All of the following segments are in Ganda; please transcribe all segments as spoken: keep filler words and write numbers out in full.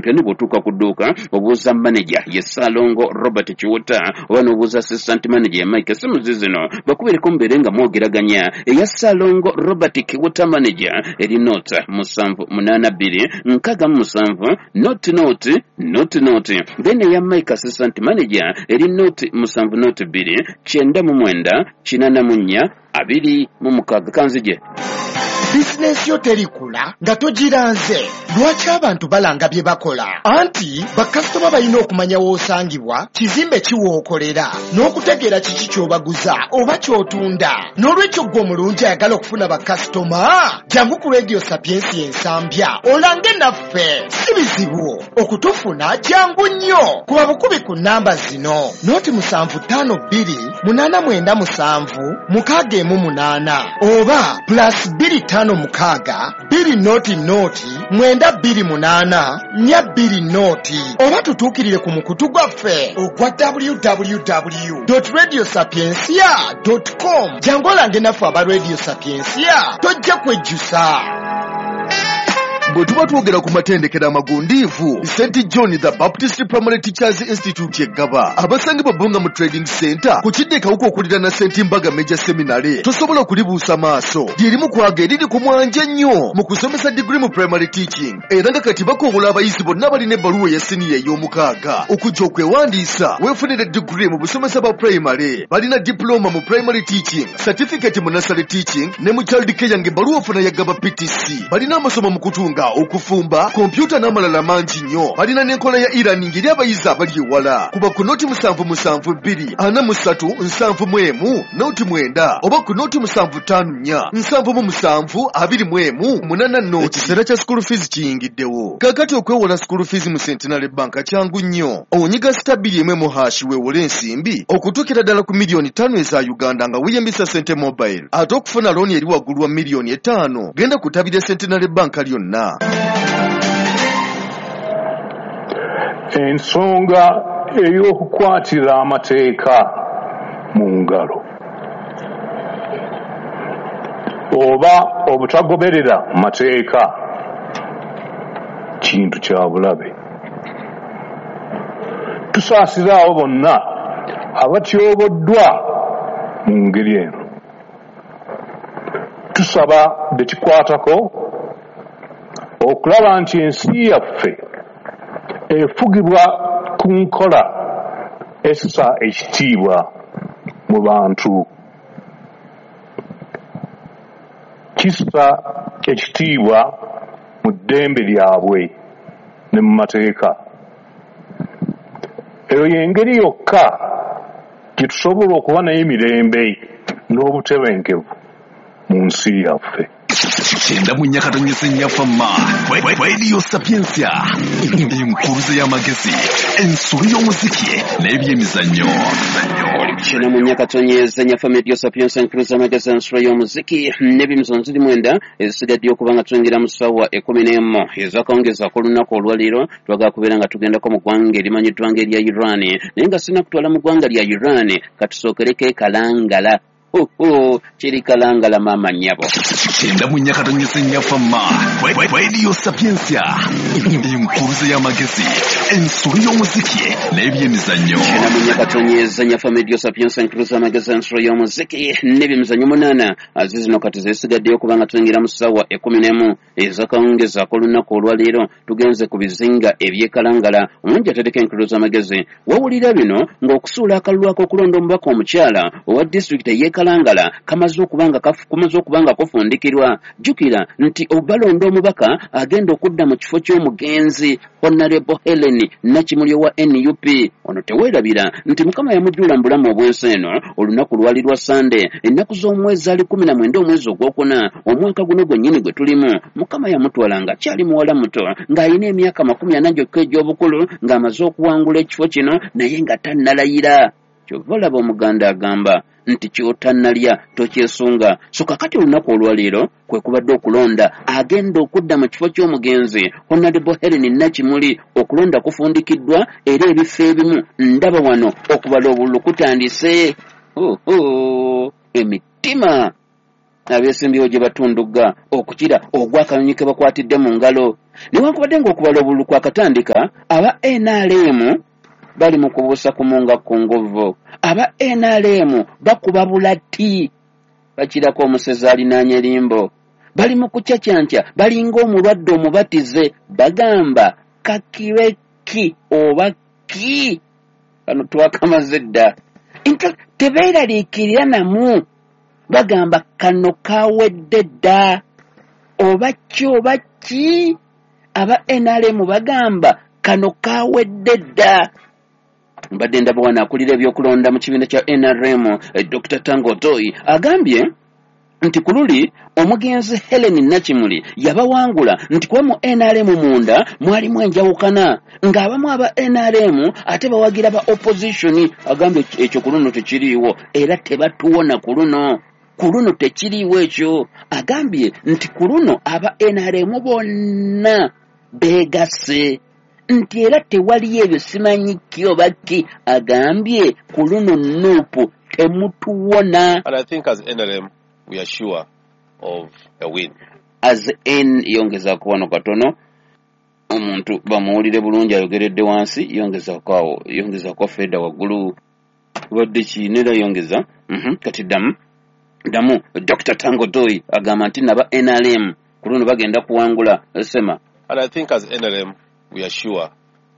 Champion. Bw'otuuka ku dduuka obuuza manager ye Ssalongo Robert Kiwuta oba n'obuuza assistant manager ye Mike. Essimu zizino bakubireko mubeere nga mwogeraganya. Eya Ssalongo Robert Kiwuta manager eri nought musanvu munaana bbiri nkaaga mu musanvu nought nought nought nought. Then eya Mike assistant manager eri nought musanvu nought bbiri kyenda mu mwenda kinaana mu nnya abiri mu mukaaga. Kanzije. Bizinensi yo terikula nga togiranze. Lwaki abantu balanga bye bakola? Anti bakasitoma balina okumanya w'osangibwa, kizimbe ki w'okolera, n'okutegeera kiki ky'obaguza oba ky'otunda. N'olwekyo ggwe omulungi ayagala okufuna bakasitoma, jangu ku Radio Sapientia Ensambya olange naffe. Si bizibu okutufuna, jangu nnyo. Kuba bukubi ku nnamba zino: nought musanvu ttaano bbiri munaana mwenda musanvu mukaaga emu munaana oba plus bbiri ttaano mukaaga bbiri nought nought mwenda bbiri munaana nnya bbiri nought oba tutuukirire ku mukutu gwaffe ogwa w w w radio sapiencia com. Jangu olange naffe aba Radio Sapiencia, tojja kwejjusa. Bwe tuba twogera ku matendekero amagundiivu, Saint John the Baptist Primary Teachers Institute eggaba abasangibwa Bbunga mu Trading Center ku kidde Kawuka okuliraana Saint Mbaga Major Seminary, tosobola kulibuusa maaso. Lyerimu kwaga eriri ku mwanje ennyo mu kusomesa diguri mu primary teaching, era nga kati bakowola abayizi bonna balina ebbaluwa eya siniya ey'omukaaga okujja okwewandiisa weefunire diguri mu busomesa bwa primary. Balina diploma mu primary teaching, certificate mu nursery teaching ne mu child care, ng'ebbaluwa ofuna ya Gaba P T C. Balina amasomo mu kutunga, okufumba, kompyuta n'amalala mangi nnyo. Balina n'enkola ya e-learning eri abayizi abali ewala. Kuba ku nought musanvu musanvu bbiri ana mu ssatu nsanvu mu emu nought mwenda oba ku nought musanvu ttaano nnya nsanvu mu musanvu abiri mu emu munaana nought. Ekiseera kya school fees kiyingiddewo kaakati. Okwewola school fees mu Centenary Bank kyangu nnyo. Onyiga star bbiri emu emu hash weewole ensimbi okutuukira ddala ku miliyoni ttaano eza Uganda nga weeyambisa Sente Mobile. Ate okufuna looni eri waggulu wa miliyoni etaano, genda ku ttabi lya Centenary Bank lyonna. Ensonga ey'okukwatira amateeka mu ngalo oba obutagoberera mateeka kintu kya bulabe. Tusaasira abo bonna abatyoboddwa mu ngeri eno. Tusaba bekikwatako okulaba nti ensi yaffe efugibwa ku nkola essa ekitiibwa mu bantu, kissa ekitiibwa mu ddembe lyabwe ne mu mateeka. Eyo y'engeri yokka gye tusobola okuba nayo emirembe n'obutebenkevu mu nsi yaffe. Kyenda mu nnya katonyeza nnya fama Radio Sapientia, enkuluze y'amagezi, ensulo y'omuziki n'ebyemizannyo. Kyenda mu nnya katonyeza nnya fama Radio Sapientia, enkuluze y'amagezi, ensulo y'omuziki n'ebyemizannyo. Ziri mwenda ezisigadde okuba nga tuyingira mu ssaawa ekkumi n'emu ezakawungeezi ak'olunaku olwaleero. Twagala kubeera nga tugendako mu ggwanga erimanyiddwa nga erya Iran, naye nga sina kutwala mu ggwanga lya Iran, katusookereko e Kalangala. Oho, kiri Kalangala maama nnyabo. Kyenda mu nnya katonyeza nnya fama Radio Sapientia, enkuluze y'amagezi, ensulo y'omuziki n'ebyemizannyo. Kyenda mu nnya katonyeza nnya fama Radio Sapientia, enkuluze y'amagezi, ensulo y'omuziki n'ebyemizannyo. Munaana zizino kati zeesigaddeyo okuba nga tuyingira mu ssaawa ekkumi n'emu ezakawungeezi ak'olunaku olwaleero. Tugenze ku bizinga eby'ekalangala. Omulungi atereka enkuluze amagezi, wawulira bino ng'okusuula akalulu ak'okulonda omubaka omukyala owa disitulikiti ey'ekalangala kamaze okuba nga kumaze okuba nga kufundikirwa. Jjukira nti obalonda omubaka agenda okudda mu kifo ky'omugenzi Honorable Helen Nakimuli owa N U P. Ono teweerabira nti Mukama yamujjula mu bulamu obw'ensi eno olunaku lwali lwa Sande, ennaku z'omwezi ali kumi na mwenda omwezi ogwokuna omwaka guno gwennyini gwe tulimu. Mukama yamutwala nga kyali muwala muto, ng'alina emyaka makumi ana gyokka egy'obukulu, ng'amaze okuwangula ekifo kino naye nga tannalayira. Kyova olaba Omuganda agamba nti ky'otannalya tokyesunga. So kakati olunaku olwaleero kwe kubadde okulonda agenda okudda mu kifo ky'omugenzi Honorable Helen Nakimuli. Okulonda kufundikiddwa era ebifo ebimu ndaba wano okubala obululu kutandise. Oho, emitima Abeesimbyewo gye batundugga okukira ogw'akanyonyi ke bakwatidde mu ngalo. Newankubadde ng'okubala obululu kwakatandika, aba N R M bali mu kubuusa kumunga ku ngovo. Aba N R M bakuba bulati, bakirako omusezi alinaanye limbo. Bali mu kucacyanca, balinga omulwadde omubatize, bagamba kakire ki oba ki, kano twakamaze dda. Tebeeraliikirira namu, bagamba kano kawedde dda, oba ki oba ki. Aba N R M bagamba kano kawedde dda. Mbadde ndaba wano akulira ebyokulonda mu kibiina kya N R M, Doctor Tango Doi, agambye nti ku luli omugenzi Helen Nakimuli yabawangula nti kuba mu N R M munda mwalimu enjawukana, ng'abamu aba N R M ate bawagira ba opposition. Agambye ekyo ku luno tekiriiwo era tebatuwona ku luno, ku luno tekiriiwo ekyo. Agambye nti ku luno aba N R M bonna beegasse, nti era tewaliyo ebyo simanyi ki oba ki. Agambye ku luno N U P temutuwona. And I think as N R M we are sure of a win. As N yongezaako wano katono, omuntu bamuwulire bulungi ayogeredde wansi, yongezaako awo, yongezaako feeda waggulu, badde ki nera yongeza. Mm-hmm. Kati ddamu ddamu Doctor Tango Doi agamba nti naba N R M ku luno bagenda kuwangula sema. And I think as N R M we are sure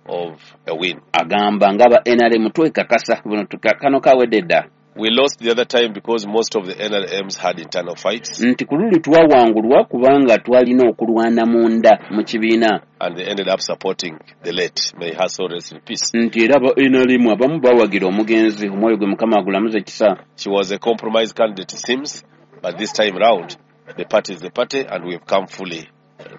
of a win. Agamba ng'aba N R M twekakasa buno kano kawedde dda. We lost the other time because most of the N R Ms had internal fights. Nti ku luli twawangulwa kubanga twalina okulwana munda mu kibiina. And they ended up supporting the late. May her soul rest in peace. Nti era aba N R M abamu bawagira omugenzi, omwoyo gwe Mukama agulamuze kisa. She was a compromise candidate, it seems, but this time round the party is the party and we've come fully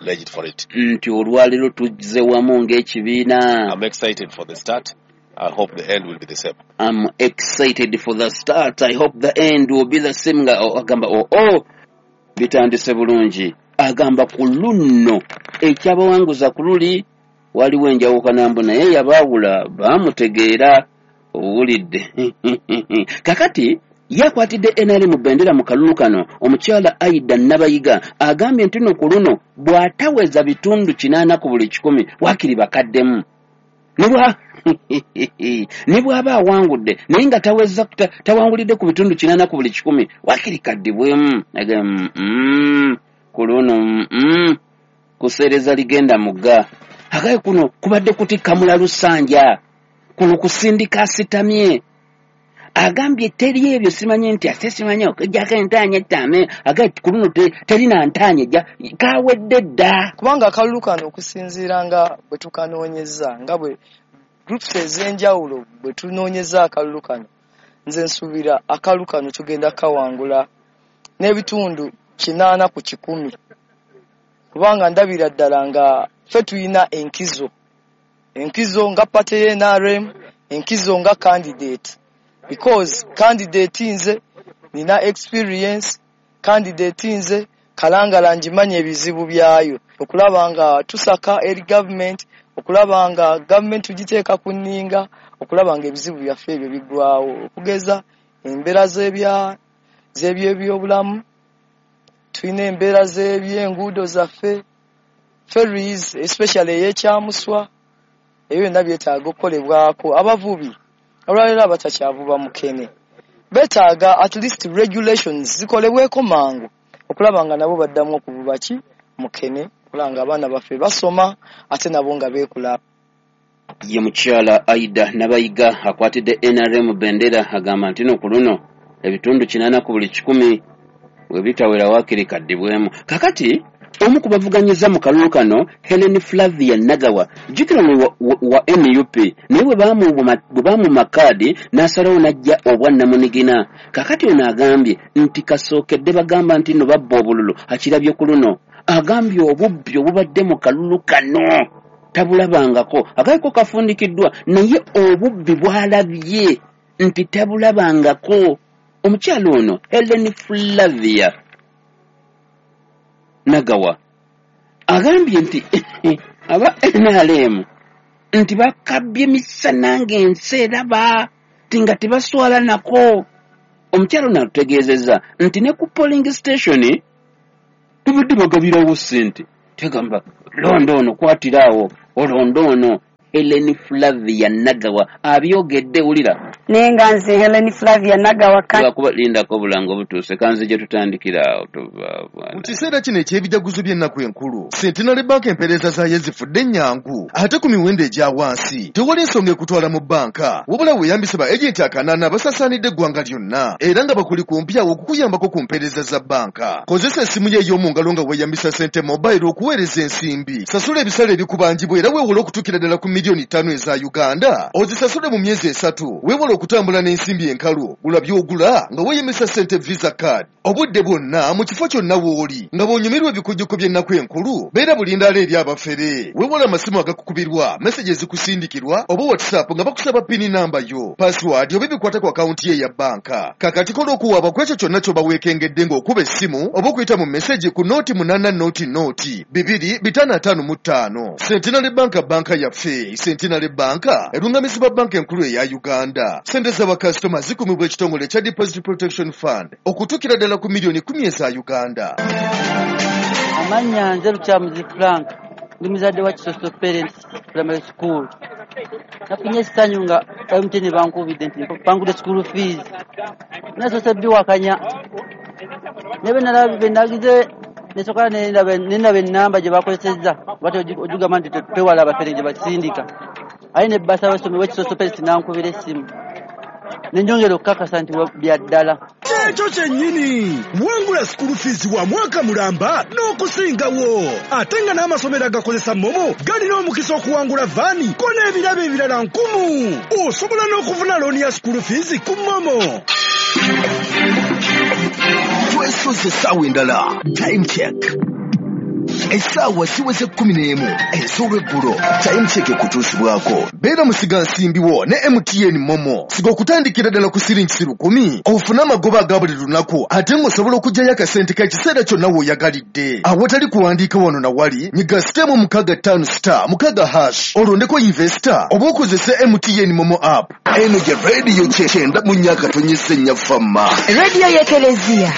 legit for it. Nti olwaleero tuzze wamu ng'ekibiina. I'm excited for the start. I hope the end will be the same. I'm excited for the start. I hope the end will be the same. Agamba oh oh bitandise bulungi. Agamba ku luno ekyabawanguza ku luli waliwo enjawukana mbu naye yabaawula baamutegeera owulidde. Kakati yakwatidde N R M bendera mu kalulu kano omukyala Aida Nabayiga agambye nti no ku luno bw'ataweza bitundu kinaana ku buli kikumi waakiri bakaddemu. Ne bw'aba awangudde naye nga taweza tawangulidde ku bitundu kinaana ku buli kikumi waakiri kaddibwemu. Ku luno kuseereza ligenda mugga. Agaye kuno kubadde kutikka mulalu ssanja, kuno kusindika asitamye. Agambye teri ebyo simanyi nti ate simanyi okujjako entaanya ettame. Agambye ku luno terina ntaanya ejja kawedde dda. Kubanga akalulu kano okusinziira nga bwe tukanoonyeza, nga bwe groups ez'enjawulo bwe tunoonyeza akalulu kano, nze nsuubira akalulu kano tugenda kawangula n'ebitundu kinaana ku kikumi. Kubanga ndabira ddala nga ffe tulina enkizo, enkizo nga party ya N R M, enkizo nga candidate. Because candidate nze nina experience, candidate nze Kalangala njimanye ebizibu byayo, okulaba nga tusaka eri government, okulaba nga government tugiteeka ku nninga, okulaba nga ebizibu byaffe ebyo biggwawo, okugeza embeera z'ebya z'ebyobulamu, tulina embeera z'ebyenguudo zaffe, ferries especially ey'Ekyamuswa, ebyo byonna byetaaga okukolebwako. Abavubi olwaleero abatakyavuba mukene beetaaga at least regulations zikolebweko mangu okulaba nga nabo baddamu okuvuba ki mukene, okulaba nga abaana baffe basoma ate nabo nga beekula. Ye mukyala Aida Nabayiga akwatidde N R M bendera agamba nti no ku luno ebitundu kinaana ku buli kikumi we bitawera waakiri kaddibwemu. Kakati omu ku bavuganyiza mu kalulu kano Helen Flavia Nagawa, jjukira wa, wa, wa N U P, naye bwe baamuma kaadi n'asalawo n'ajja obwannamunigina. Kakati ono agambye nti kasookedde bagamba nti nno babba obululu, akirabye ku luno. Agambye obubbi obubadde mu kalulu kano tabulabangako, akaliko kafundikiddwa naye obubbi bw'alabye nti tabulabangako. Omukyala ono Helen Flavia Nagawa agambye nti aba N R M nti bakabbye misana ng'ensi eraba, nti nga tebaswala nako. Omukyalo ono atutegeezezza nti ne ku polling station tubadde bagabirawo ssente, tegamba londa ono, kwatiraawo olonda ono. Helen Flavia Nagawa abyogedde, wulira. Naye nga nze Helen Flavia Nagawa. Lwakuba lindako obulango butuuse, kanze gye tutandikira awo tuva. Mu kiseera kino eky'ebijaguzo by'ennaku enkulu, Centenary Bank empeereza zaayo ezifudde ennyangu ate ku miwendo egya wansi. Tewali nsonga ekutwala mu bbanka, wabula weeyambise ba agenti akanaana abasaasaanidde eggwanga lyonna era nga bakuli kumpi awo okukuyambako ku mpeereza za bbanka. Kozesa essimu yo ey'omu ngalo nga weeyambisa Sente Mobile okuweereza ensimbi, sasula ebisale ebikubanjibwa era weewole okutuukira ddala ku miliyoni ttaano eza Uganda, ozisasule mu myezi esatu. Weewale okutambula n'ensimbi enkalu, gula by'ogula nga weeyambisa Sente Visa Card obudde bwonna mu kifo kyonna w'oli. Nga bw'onyumirwa ebikujjuko by'ennaku enkulu, beera bulindaala eri abafere. Weewale amasimu agakukubirwa, message ezikusindikirwa oba WhatsApp nga bakusaba PIN namba yo, password oba ebikwata ku akawunti ye eya bbanka. Kakati kola okuwaaba ku ekyo kyonna ky'oba weekengedde ng'okuba essimu oba okuyita mu message ku nooti munaana nooti nooti bibiri bitaano ataano mu ttaano. Centenary Bank, banka yaffe. Centenary Bank erungamizibwa banka enkulu eya Uganda. Sente z'abakasitoma zikumibwa ekitongole ekya Deposit Protection Fund okutuukira ddala ku miliyoni kumi eza Uganda. Amannya nze Lukyamuzi Frank, ndi muzadde wa Kisoso Parents Primary School. Nafunye essanyu nga M T N bankubidde nti mpangudde school fees. Nasoose biwakanya, naye bwe nalaba bwe nagize nesooka nendaba ennamba gye bakozesezza, oba ogigamba nti twewala abafere gye basindika, aye ne basa w'essomero w'Ekisoso Parents n'ankubira essimu, ne njongera okukakasa nti bya ddala. Ekyo kyennyini, wangula school fees wa mwaka mulamba n'okusingawo, ate nga n'amasomero agakozesa MoMo galina omukisa okuwangula van ko n'ebirabo ebirala nkumu. Osobola n'okufuna looni ya school fees ku MoMo. Twesoze essaawa endala. Time check, essaawa ziweze kkumi n'emu ez'olweggulo. Time check ekutuusibwako Beera musigansimbi wo ne M T N MoMo. Siga okutandikira ddala ku siringi lukumi ofune amagoba aga buli lunaku, ate ng'osobola okuggyayo akasente k'ekiseera kyonna w'oyagalidde awatali kuwandiika wano na wali. Nyiga star mukaaga ttaano star mukaaga hash, olondeko invest oba okozese M T N MoMo app. Eno gye rediyo kyenda mu nnya akatonyesa ennyafamma. Rediyo y'Ekereziya.